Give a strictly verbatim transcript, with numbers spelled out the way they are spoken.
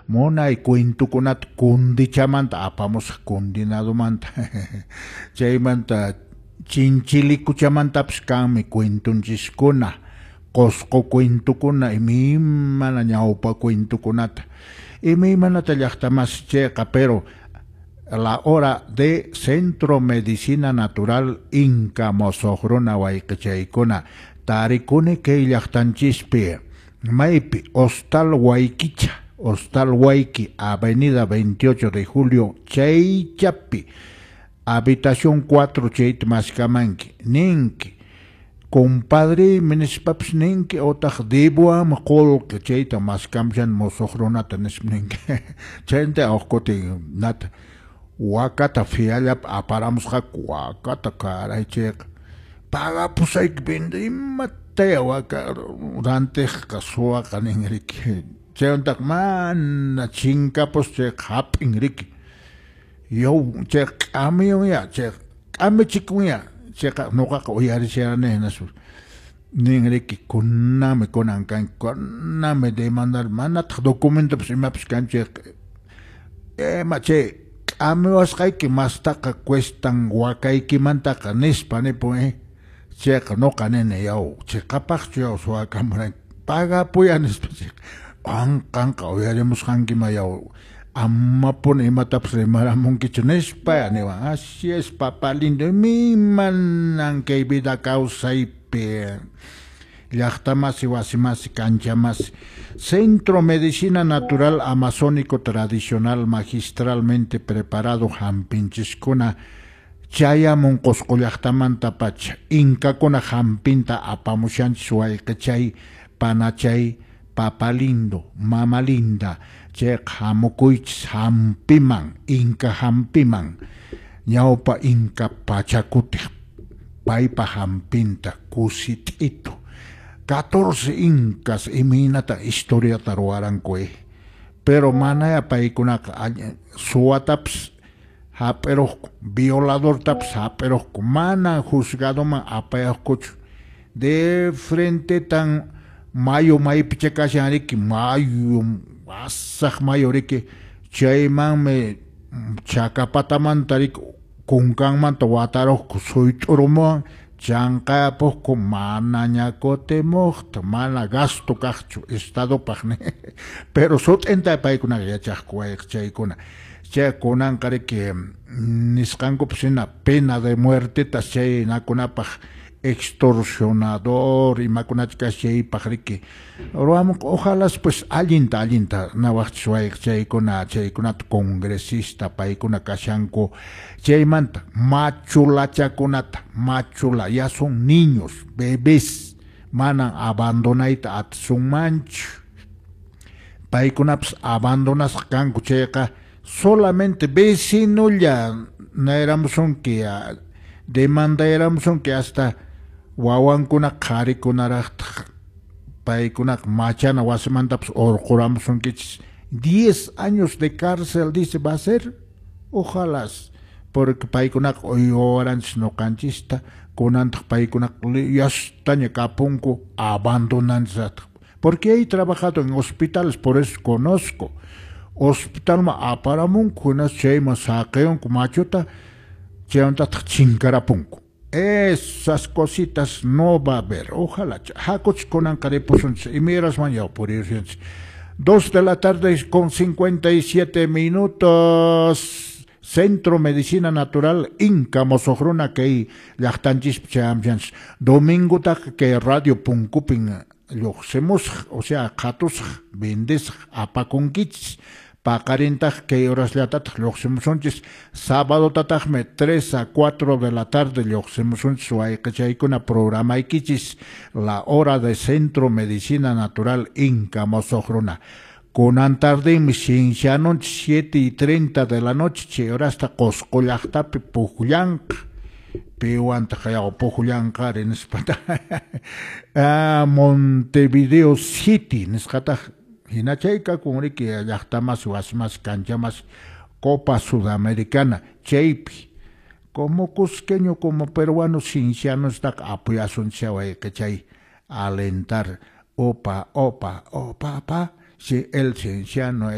Munay cuentokunata kundichamanta apamusaq, kundinadumanta. Chaymanta chinchilikuchamantapis kanmi cuentonchiskuna, Qosqo cuentokuna, imaymana ñawpa cuentokunata, imaymanata llaqtamasi chayqa. Pero la hora de Centro Medicina Natural Inca Mosoqruna wayqichaykuna tarikuni kay llaqtanchispi, maypi Hostal Huayquicha, Hostal Huayqui, Avenida veintiocho de Julio, chaychapi, habitación cuatro, chayta maskamanki, ninki compadre nispapis ninki, otaq debuam qolqe chayta maskamshan mosoq runata nispa ninki. Chayta huk kutin nata wakata fiallap aparamusqaku, wakata caray chayqa pagapusayki vende imataya waka rantiqqa suwaqa nin riki. Chaymantaq mana chinkapus chayqa hap'in riki, yaw chayqa k'amiyunya, chayqa k'amichikunya chayqa nuqaqa uyarisharani hinaspa nin riki kunanmi kunan kanki, kunanmi demandar, manataq documentopas imapas kanchu chayqa ima chay k'amiwasqayki mastaqa cuestan wakaykimantaqa nispa nipun eh. Chayqa nuqa nini yaw chiqapaqchu yaw suwakamuranki pagapuya nispa chayqa qanqa uyarimusqankima yaw amapuni imatapas rimaramunkichu nispa niwan. Así es, papá lindo, imaymanan kay vida kawsaypi llaqtamasi wasimasi kanchamasi. Centro Medicina Natural Amazónico Tradicional magistralmente preparado hampinchiskuna chayamun Qosqo llaqtamantapacha, inkakuna hampinta apamushanchis wayqichay, panachay, papá lindo, mama linda, chayqa hamukuychis hampiman, inka hampiman, ñawpa inka pachakutiq paypa hampinta kusit'itu. catorce incas imaynata historiata ruwaranku eh. Pero manaya paykunaqa suwatapas hap'iruqku, violadortapas hap'iruqku, mana juzgadoman apayaqkuchu. De frente tan mayu maypicha kashan riki, mayu wasaq mayu riki, chaymanmi chakapatamanta riki kunkanmanta wataruqku suyt'urumuwan chanqayapuqku, manaña kutimuqta, mana gasto kaqchu estadopaq ni. Pero sut'inta paykunaqa yachaqku wayqichaykuna. Chay kunanqa riki nisqankupas hina pena de muertetas chay nakunapaq extorsionador imakunacha kashan chaypaq riki ruwamunqa. Ojalá pues allinta allinta nawaqchis wayqichaykuna, chaykunata congresista paykuna kashanku chaymanta machulachakunata, machula ya son niños, bebés, manan abandonayta atisunmanchu, paykunapas abandonasqa kanku chayqa solamente vecinolla nayramusunki, demandayramusunki hasta wawankuna qharikunaraqtaq paykunaqa machana wasimantapas urquramusunkichis. diez años de cárcel dice va a ser, ojalá, porque paykunaqa uywawaranchis ñuqanchista, kunantaq paykunaqa yastaña kapunku abandonanchis. Porque he trabajado en hospitales, por eso conozco. Hospitalman aparamunku, hinaspa chayman saqiyunku machuta, chaymantataq chinkarapunku. Esas cositas no va a haber. Ojalá. Hakuch kunanqa ripusunchis, imayrasman yaw purirunchis. Dos de la tarde con cincuenta y siete minutos. Centro Medicina Natural Inca Mosoqruna kay llaqtanchispi chayamchanchis. Domingotaq kay radio punkupin lluqsimusaq, o sea, qhatusaq, vendesaq, apakunkichis. Paqarintaq kay horasllatataq lluqsimusunchis. Sabadotataqmi tres a cuatro de la tarde lluqsimusunchis wayqichaykuna programaykichis la hora de Centro Medicina Natural Inca Mosoqruna. Kunan tardinmi sinshanunchis siete y treinta de la noche chay horasta Qosqo llaqtapi pukllanqa. Piwantaq yaw pukllanqari nispata. Ah, Montevideo City nisqataq hina chay kakun riki llaqtamas wasimas kanchamas Copa Sudamericana chaypi como cusqueño como peruano sinshanustaq apoyasunchis wayqichay alentar opa opa opa pa si el cienciano es